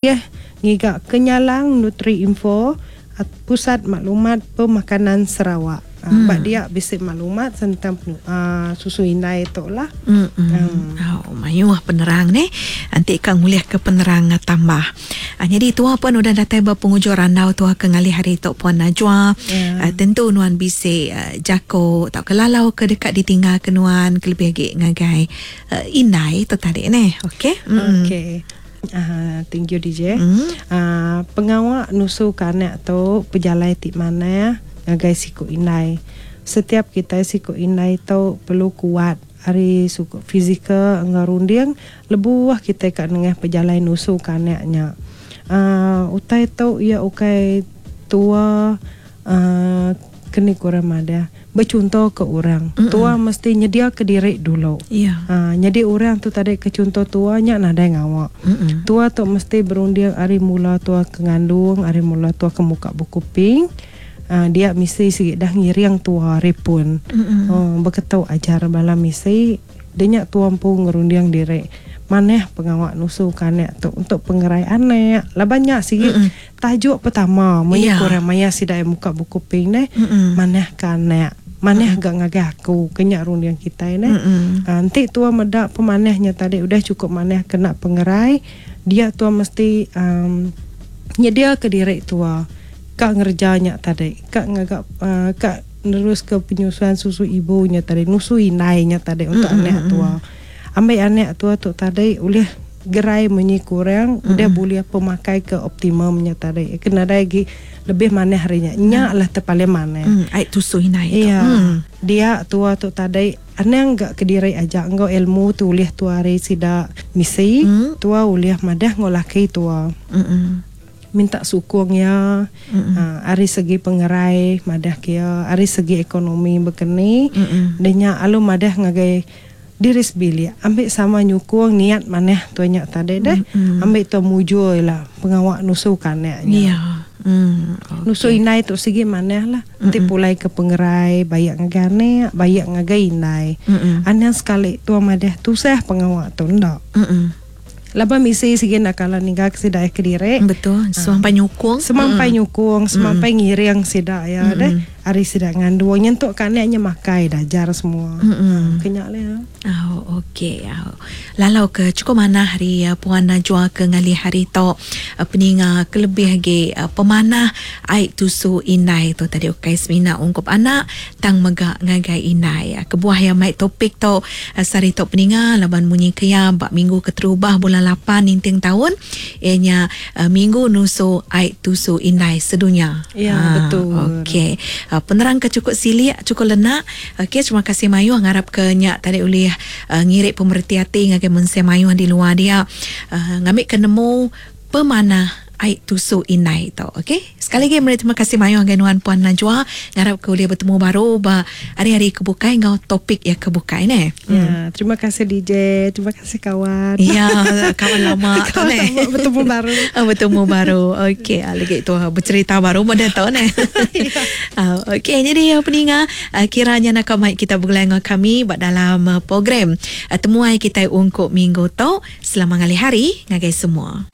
Ulih ngiga Kenyalang Nutri-Info Pusat Maklumat Pemakanan Sarawak. Ba dia bisi maklumat sentang susu indai tu lah. Au mayuh penerang neh enti ka ngulihka penerang tambah. Nyadi tua pun udah datai ba pengujung randau tua ke ngalih hari tu Puan Najwa. Tentu nuan bisi jaku tauka lalau ke deka ditinggalka nuan kelebih agi ngagai indai tu tadi neh. Okey. Okey. Thank you DJ. Pengawa nusu ke anak tu pejalai ti manah ngagai siku indai. Setiap kitai siku indai tu perlu kuat ari sukut fizikal enggau runding lebuh kitai ka nengah pejalai nusu ke anak nya. Utai tu iya ukai tua Keni ku orang madah, bechunto ke orang. Tua mesti nyediaka diri dulu. Nyadi orang tu tadi ke chunto tua nya nadai ngawa. Tua tu mesti berunding ari mula tua ke ngandung, ari mula tua ke muka buku ping. Dia misi sigi dah ngiring tua ari pun. Beketu ajar bala misi. Dia nya tua empu ngerunding diri. Manah pengawa nusu ke anak tu untuk pengerai anak. Laban nya sigi Tajuk pertama munyi ku orang maya sida iya muka buku pink neh, manah ke anak, manah ga ngagai aku ke nya runding kitai neh. Enti tua meda pemanah nya tadi udah chukup manah kena pengerai, dia tua mesti uhh nyediaka diri tua ka ngereja nya tadi, ka ngaga uhh ka neruska penyusuan susu ibu nya tadi, nusu indai nya tadi untuk anak tua. Ambi anak tua tu tadi ulih gerai munyi ku orang udah bulih pemakai ke optimum nya tadi ke nadai agi lebih manah ari nya. Nya lah te paling manah. Ai tusu indai tu. Iya. Dia tua tu tadi anang ga kediri aja enggau ilmu tu ulih tua ari sida misi tua ulih madah enggau laki tua. Minta sukung iya ari segi pengerai madah ke iya ari segi ekonomi bekeni deh nya alu madah ngagai Diri sebilik ambi sama nyukung niat manah tua nya tadi deh. Ambi tua mujur ila pengawa nusu ke anak nya. Nusu indai tu sigi manah lah. Enti pulai ke pengerai baik ngagai anak, baik ngagai indai. Anang sekali tua madah tusah pengawa tu enda. Laban misi sigi enda kala ninggal ke sida iya kediri. Betul. Semampai nyukung. Semampai nyukung, semampai ngiring sida iya deh. Ari sida ngandung nyentuk ka anak nya makai dajar semua. Ke nya leh. Au okey. Au. Lalau ke chukup manah ari Puan Najwa ke ngalih hari tu peninga ke lebih agi pemanah ai tusu indai tu tadi ukai semina ungkup anak tang mega ngagai indai. Kebuah iya mai topik tu sehari tu peninga laban munyi ke iya ba minggu keterubah bulan lapan ninting taun iya nya minggu nusu ai tusu indai sedunya. Ya betul. Okey. Penerang ke chukup silik chukup lenak. Okey terima kasih mayuh ngarap ke nya tadi ulih ngiri pemereti ati ngagai mensia mayuh di luar dia ngambika nemu pemanah ai tusu indai tu ok. Sekali agi meri terima kasih mayuh ngagai nuan Puan Najwa ngarap ke ulih betemu baru ba hari-hari ke bukai enggau topik iya ke bukai neh. Ya, terima kasih DJ, terima kasih kawan. Ya, kawan lama tu neh. Kawan lama betemu baru. Betemu baru. Okey, lagi tu becerita baru meda tu neh. Okey, jadi peninga kira nya naka mai kita begulai enggau kami ba dalam program temuai kitai ungkup minggu tu. Selamat ngalih hari ngagai semua.